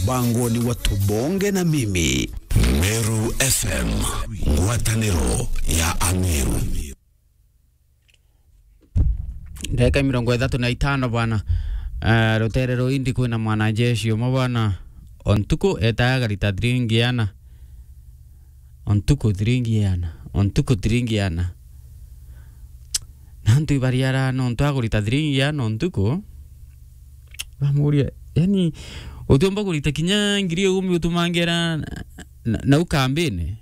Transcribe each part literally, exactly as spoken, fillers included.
Bangoni wa Tubonge na Mimi. Meru F M, ngwataniro ya Ameru. Ndagika mirongo ithatu na itano bwana. Eh, rutere ruu indi kwina mwanajeshi umwe bwana. O ntuku etaga garita thiringi iana. O ntuku thiringi iana. O ntuku thiringi iana. Na antu ibariara nontu agurita thiringi iana o ntuku. Bamuria, yani, utiumba kurita kinya ngiri ikumi utumangera na, na, nau kambini.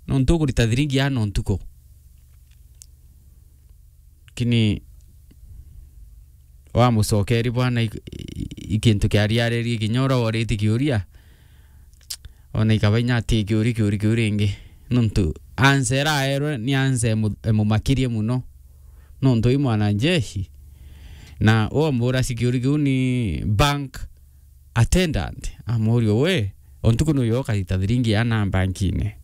Nontu ugurita thiringi iana o ntuku. Lakini wamucokeri bwana i, i, i kintu kiariaririe kinya uria woritie kiuria, ona ikaba inya ati kiuria, kiuria kiu ringi. Nontu answer iraerwe ni answer imu-, imumakirie muno. Nontu i mwanajeshi. Na wambura si kiuria kiu ni bank attendant, amuuria, "We, o ntuku nuyo ukarita thiringi iana bankine?"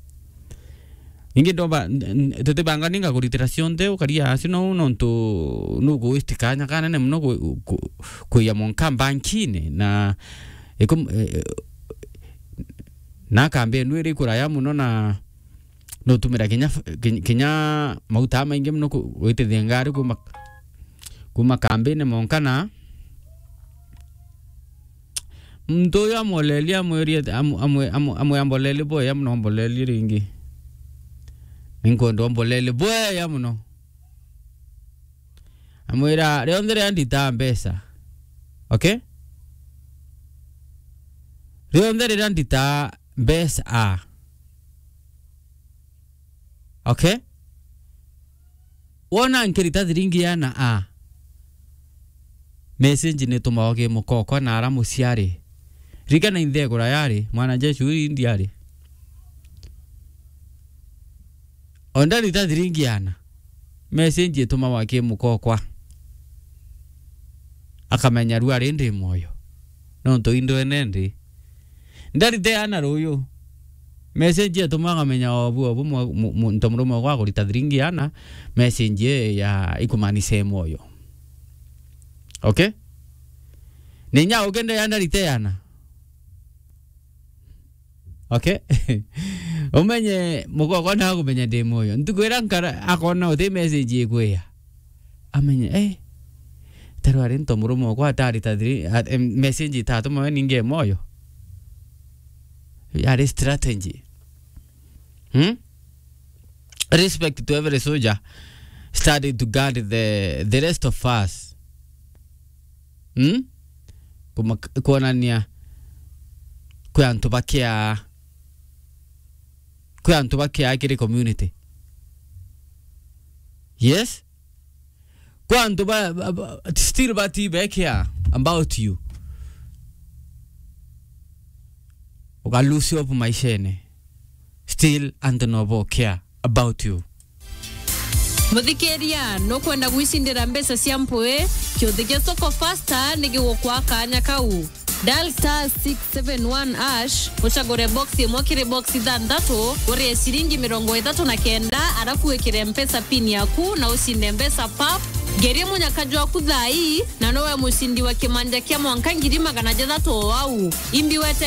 Ningi ndomba, n-, n-, tutibanga ninga kuritira cionthe, ukaria acio no, nontu nuku waste kanya kanene muno ku-, ku-, kuiya monka bankine, na ikum-, e-, e-, na kambi enu iri kuraya muno, na nutumira kinya f-, ki-, kinya mauta maingi muno ku-, gwitithia ngari kuma, kuma kambini monka na muntu uyu amwolelie, amwirie, amu-, amwe-, amu-, amwe ambolelie bwega muno, mbolelie ringi. Ninkwenda umbolelie bwega muno. Amwira, "Rionthe riria ndita mbeca." Okay? "Rionthe riria ndita mbeca." Okay? Wona nkirita thiringi iana a, message nitumagwa ki mukokwa na ara muciari. Ririkana inthe kuraya ari, mwanajeshi uyu indi ari. O ndarita thiringi iana, message itumagwa ki mukokwa. Akamenya riu ari ndi mwoyo. Nontu indwene ndi. Ndarite ana ruyu. Message etuma akamenya obu, obu mwa-, mu-, mu-, nto murume okwa akurita thiringi ana, message e ya ikumaanisha e mwoyo. Okay? Ninya ukende ya ndarite ana. Okay? Umenye mukokwa na akumenya ndi mwoyo. Ntuku ira nkara akona uti message ikwiya. Amenye, eh, taru ari nto murume okwa atari ta thiri, a-, em, message itatuma we ninge moyo. Yari strategy. Hmm? Respect to every soldier. Study to guard the, the rest of us. Hmm? Kuma-, kuonania kwi antu bakia, kwi antu bakia kiri community. Yes? Kwa antu ba, ba, ba, still bati be care about you. Uka lose hope maishene. Still antu no bo care about you. Muthikiria, nukwenda gwicindira mbeca cia mpwi? Kiuthi gia Soko Faster ni gigukwa kanya kau. Dial star six seven one hash, ucagure box imwe kiri box ithanthatu, urie ciringi mirongo ithatu na kenda, arafu wikire Mpesa pin yaku na ucinde mbeca pap. Ngerie munyaka jwaku thaa ii, na nowe mucindi wa kimanja kia mwanka ngiri magana jathatu o au. Imbi wete